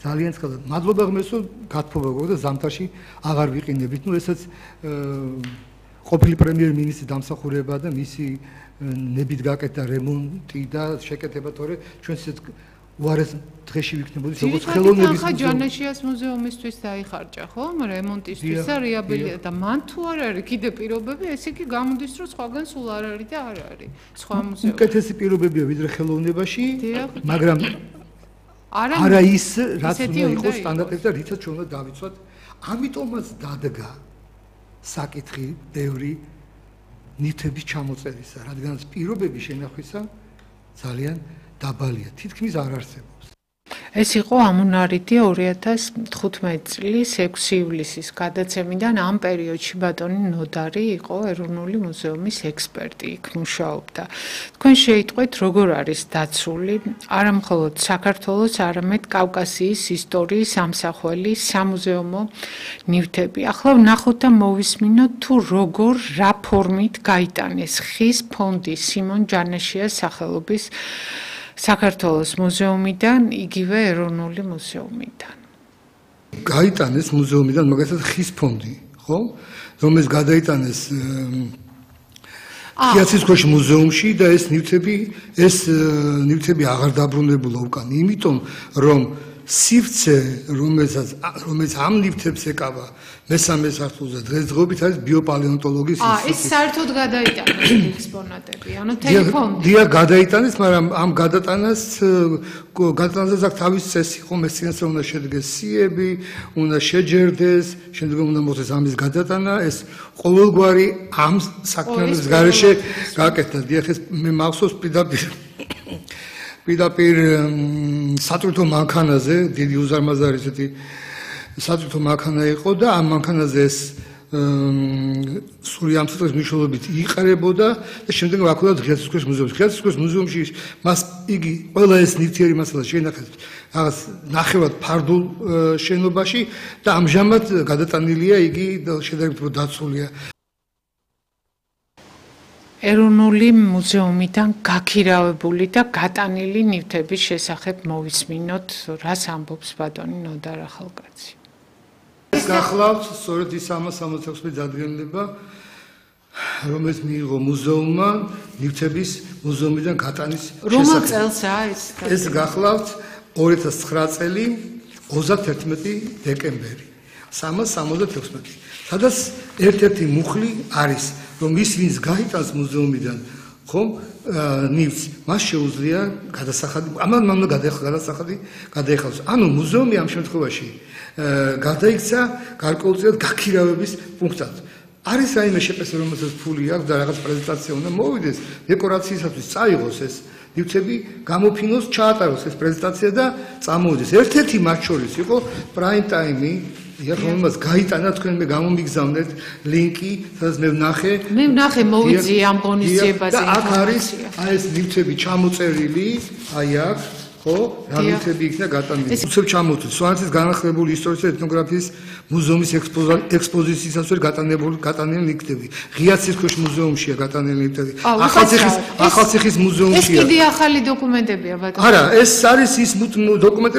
ძალიან ცხადად. მადლობა ღმერთს, რომ გათხოვა გქონდა და ზამთარში აღარ ვიყინებით. ნუ ესაც ყოფილი პრემიერ-მინისტრის დამსახურება და მისი ნებით გაკეთდა რემონტი და შეკეთება, თორე ჩვენ ისეთ უარეს დღეში ვიქნებოდით, როგორც ხელოვნების მუზეუმი. ჯანაშიას მუზეუმისთვის დაიხარჯა, ხო? რემონტისთვის და რეაბილიტაცია და მან თუ არ არის კიდე პირობები, ესე იგი გამოდის, რომ სხვაგან სულ არ არის და არ არის. სხვა მუზეუმი. უკეთესი პირობებია ვიდრე ხელოვნებაში, მაგრამ არა ის, რაც უნდა იყოს სტანდარტები და რითაც ჩვენ უნდა დავიცვათ. ამიტომაც დადგა საკითხი ბევრი ნივთების ჩამოწერისა, რადგანაც პირობების შენახვისა ძალიან დაბალია, თითქმის არ არსებობს. ეს იყო ამუნარიდი 2015 წლის 6 ივლისის გადაცემიდან ამ პერიოდში ბატონი ნოდარი იყო ეროვნული მუზეუმის ექსპერტი, იქ მუშაობდა. თქვენ შეიტყვეთ, როგორ არის დაცული არა მხოლოდ საქართველოს, არამედ კავკასიის ისტორიის ამსახველი სამუზეუმო ნივთები. ახლა ვნახოთ და მოვისმინოთ თუ როგორ რა ფორმით გაიტანეს ხის ფონდი სიმონ ჯანაშიას სახელობის საქართველოს მუზეუმიდან, იგივე ეროვნული მუზეუმიდან. გაიტანეს მუზეუმიდან მაგალითად ხის ფონდი, ხო? რომელიც გადაიტანეს კიაცის მუზეუმში და ეს ნივთები აღარ დაბრუნებულა უკან, იმიტომ რომ სივრცე, რომელიც ამ ნივთებს ეკავა მესამე სართულზე დღესდღეობით არის ბიოპალეონტოლოგიის ინსტიტუტი. ეს საერთოდ გადაიტანეს ექსპონატები, ანუ თელეფონი. დიახ, გადაიტანეს, მაგრამ ამ გადატანას აქვს თავის წესი, ხომ ეს წინასწარ უნდა შედგეს სიები, უნდა შეჯერდეს, შემდგომ უნდა მოხდეს ამის გადატანა, ეს ყოველგვარი ამ საქმეების გარეშე გაკეთდა. დიახ, ეს მე მახსოვს პირდაპირ სატვირთო მანქანაზე, დიდი უზარმაზარი ესეთი სატვირთო მანქანა იყო და ამ მანქანაზე ეს სული ამ წელს მნიშვნელობით იყარებოდა და შემდეგ აქუდა ღიაცის მუზეუმში. ღიაცის მუზეუმში მას იგი ყველა ეს ნივთიერი მასალა შეინახეს რაღაც ნახევრად ფარდულ შენობაში და ამჟამად გადატანილია იგი შედარებით დაცულია. ეროვნული მუზეუმიდან გაქირავებული და გატანილი ნივთების შესახებ მოვისმინოთ, რას ამბობს ბატონი ნოდარ ახალკაცი. გახლავთ სწორედ ის 366 დადგენილება, რომელიც მიიღო მუზეუმმა ნივთების მუზეუმიდან გატანის შესახებ. რომელ წელსაა ეს? ეს გახლავთ 2009 წელი 31 დეკემბერი 366. სადაც ერთ-ერთი მუხლი არის, რომ ის ვინც გაიტანს მუზეუმიდან, ხომ, ნივთს, მას შეუძლია გადასახადი, ამან უნდა გადასახადი გადაეხადოს. ანუ მუზეუმი ამ შემთხვევაში გადაიქცა გარკვეულწილად გაქირავების პუნქტად. არის რაიმე შეფასება, რომელსაც ფული აქვს და რაღაც პრეზენტაცია უნდა მოვიდეს, დეკორაციისათვის წაიღოს ეს ნივთები, გამოფინოს, ჩაატაროს ეს პრეზენტაცია და წამოვიდეს. ერთ-ერთი მათ შორის იყო პრაიმ ტაიმი, რომელმაც გაიტანა, თქვენ მე გამომიგზავნეთ ლინკი, სადაც მე ვნახე მოვიძიე ამ ღონისძიებაზე. და აქ არის ეს ნივთები ჩამოწერილი, აი აქ, ხო, რა ნივთები იქნა გატანილი. უცებ ჩამოვთვლით სვანეთის განახლებული ისტორიის და ეთნოგრაფიის მუზეუმის ექსპოზიციისას გატანილი ნივთები. ღიაცის მუზეუმშია გატანილი ნივთები. ახალციხის მუზეუმშია. ეს კიდე ახალი დოკუმენტებია ბატონო. არა, ეს არის ის დოკუმენტები